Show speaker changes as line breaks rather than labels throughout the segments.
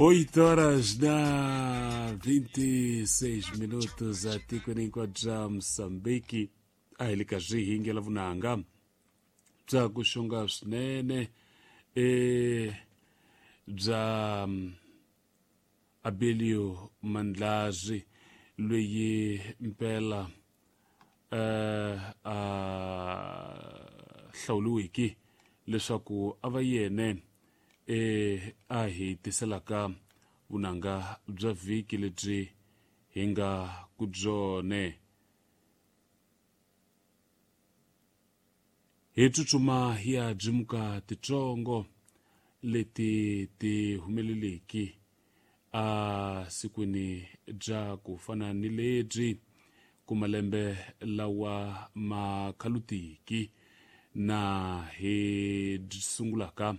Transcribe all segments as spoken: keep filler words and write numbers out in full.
Oito horas na vinte e seis minutos atikweni hinkwabyo bya Mozambique a hi le ka swihingela vunanga bya ku xonga swinene e bya Abelio Mandlazi loyi mpela eh a hlawuriweke leswaku a va yene e a hi tiselaka vunanga bya vhiki lebyi hi nga ku byone. Hi tsutsuma hi ya byimuka titsongo leti ti humeleleki a sikwini bya ku fana ni lebyi ku malembe lawa ma khalutiki na hi sungulaka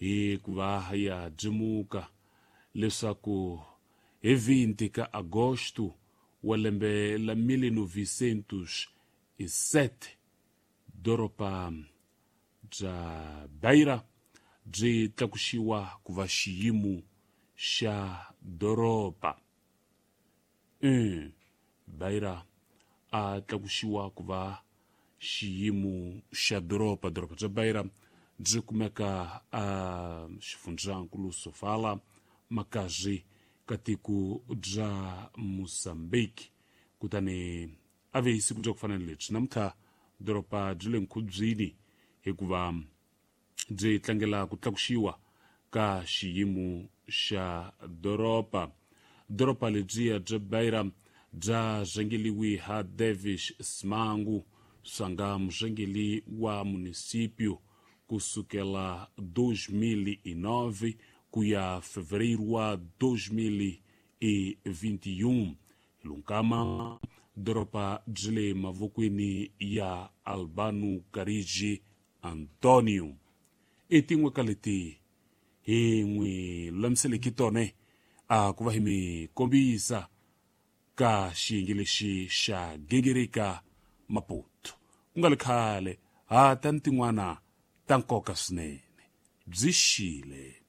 hi ku va ya byimuka leswaku hi vinte ka agosto wa lembe la mil novecentos e sete doroba bya Beira byi tlakuxiwa ku va xiyimo xa doroba. Mm, Beira a tlakuxiwa ku va xiyimo xa doroba. Doroba bya Beira byi kumeka a xifundzankulu Sofala makazi ka tiko bya Mozambique. Kutani a ve hi siku bya ku fana ni lebyi namuntlha doroba byi le nkhubyini hikuva byi tlangela ku tlakuxiwa ka xiyimo xa doroba. Doroba lebyiya bya Beira bya rhangeliwi ha Davis Simango swanga murhangeli wa município kusukela dois mil e nove ku ya fevereiro wa dois mil e vinte e um. Lunkama doroba byi le mavokweni ya Albano Carigi Antonio. I tin'we ka leti hi n'wi lulamiseleke tona a ku va hi mi kombisa ka xiyenge lexi xa Gingirika Maputo. Ku nga le khale ha ta ni tin'wana ta nkoka swinene byi xile.